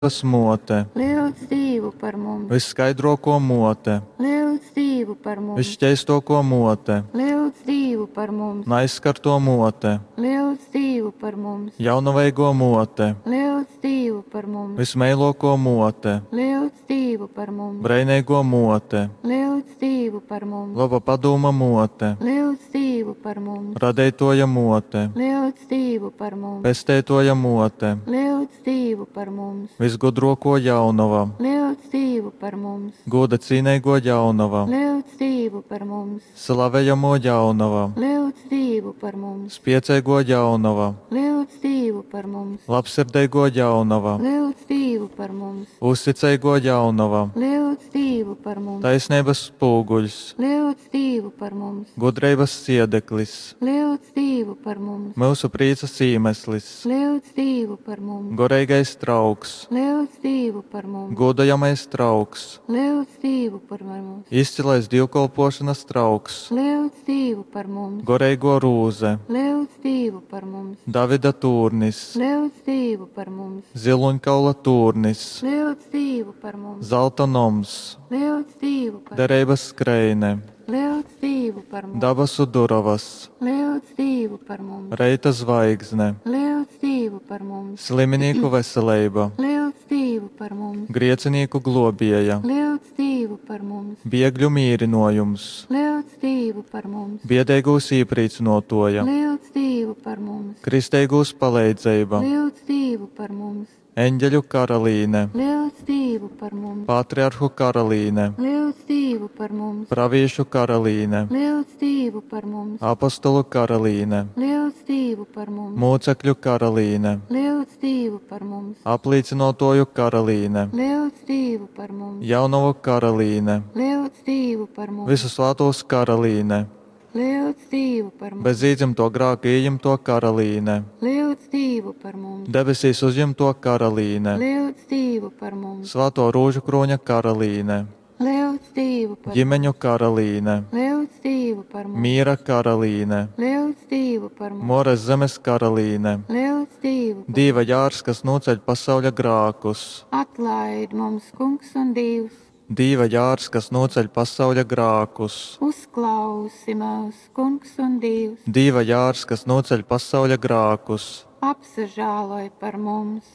Muote, Lyudz Dīvu par mums! Vysskaidruokuo Muote, Lyudz Dīvu par mums! Vysšķeistuokuo Muote, Lyudz Dīvu par mums! Naizskartuo Muote, Lyudz Dīvu par mums! Jaunoveiguo Muote, Lyudz Dīvu par mums! Vysmeiluokuo Muote, Lyudz Dīvu par mums! Breineiguo Muote, Lyudz Dīvu par mums! Loba padūma Muote, Lyudz Dīvu par mums! Radeituoja Muote, Lyudz Dīvu par mums! Pesteituoja Muote, Lyudz Dīvu par mums! Vysgudruokuo Jaunova, Lyudz Dīvu par mums! Gūda cīneiguo Jaunova, Lyudz Dīvu par mums! Slavejamuo Jaunova, Lyudz Dīvu par mums! Spieceiguo Jaunova, Lyudz Dīvu par mums! Labsirdeiguo Jaunova, Lyudz Dīvu par mums! Uzticeiguo Jaunova, Lyudz Dīvu par mums! Taisneibys spūguļs, Lyudz Dīvu par mums! Gudreibys siedeklis, Lyudz Dīvu par mums! Myusu prīcys īmeslis, Lyudz Dīvu par mums! Goreigais trauks, Lyudz Dīvu par mums! Gūdojamais trauks, Lyudz Dīvu par mums! Izcilais dīvkolpuošonys trauks, Lyudz Dīvu par mums! Goreiguo rūze, Lyudz Dīvu par mums! Davida tūrnis, Lyudz Dīvu par mums! Zylūņkaula tūrnis, Lyudz Dīvu par mums! Zalta noms, Lyudz Dīvu par mums! Dereibys skreine, Lyudz Dīvu par mums! Dabasu durovys, Lyudz Dīvu par mums! Reita zvaigzne, Lyudz Dīvu par mums! Sliminīku veseleiba, Lyudz Dīvu par mums! Griecinīku gluobieja, Lyudz Dīvu par mums! Biegļu mīrynuojums, Lyudz Dīvu par mums! Biedeigūs īprīcynuotuoja, Lyudz Dīvu par mums! Kristeigūs paleidzeiba, Lyudz Dīvu par mums! Eņgeļu karalīne, Lyudz Dīvu par mums! Patriarhu karalīne, Lyudz Dīvu par mums! Pravīšu karalīne, Lyudz Dīvu par mums! Apostolu karalīne, Lyudz Dīvu par mums! Mūcekļu karalīne, Lyudz Dīvu par mums! Aplīcynuotuoju karalīne, Lyudz Dīvu par mums! Jaunovu karalīne, Lyudz Dīvu par mums! Vysu svātūs karalīne, Lyudz Dīvu par mums! Bez īdzymtuo grāka ījimtuo karalīne, Lyudz Dīvu par mums! Debesīs uzjimtuo karalīne, Lyudz Dīvu par mums! Svātuo Rūžukrūņa karalīne, Lyudz Dīvu par mums! Ģimeņu karalīne, Lyudz Dīvu par mums! Mīra karalīne, Lyudz Dīvu par mums! Muoras zemes karalīne, Lyudz Dīvu par Dīva jārs, kas nūceļ pasauļa grākus, Atlaid mums, Kungs un Dīvs! Dīva jārs, kas nūceļ pasauļa grākus, Uzklausi myus, Kungs un Dīvs! Dīva jārs, kas nūceļ pasauļa grākus, Apsažāloj par mums!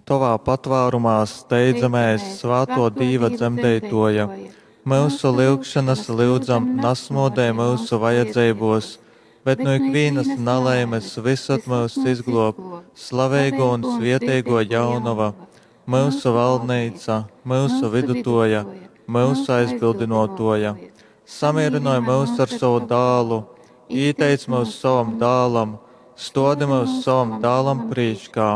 Tovā patvārumā steidzamēs, svātō Dīva dzemdeitōja. Myusu lyugšonas lyudzam nasmōdej myusu vajadzeibōs, bet nu ikvīnas nalaimes vysod myus izglōb, slaveigō un svieteigō Jaunova, myusu valdneica, myusu vidutōja, myusu aizbildynōtōja. Samīrynoj myus ar sovu dālu, īteic myus sovam dālam, stōdi myus sovam dālam prīškā.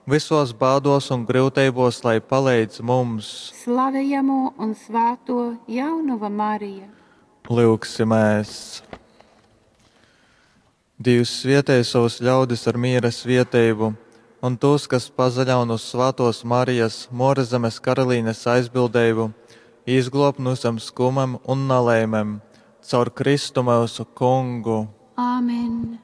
Vysōs bādōs un gryuteibōs lai paleidz mums. Slavejamō un svātō Jaunova Marija! Lyugsimēs! Dīvs svietej sovus ļaudis ar mīra svieteibu, un tūs, kas pasaļaun uz svātōs Marijas, Muoras Zemes Karalīnes aizbildeibu, izglōb nu vysem skumem un nalaimem. Caur Kristu myusu Kungu. Āmen!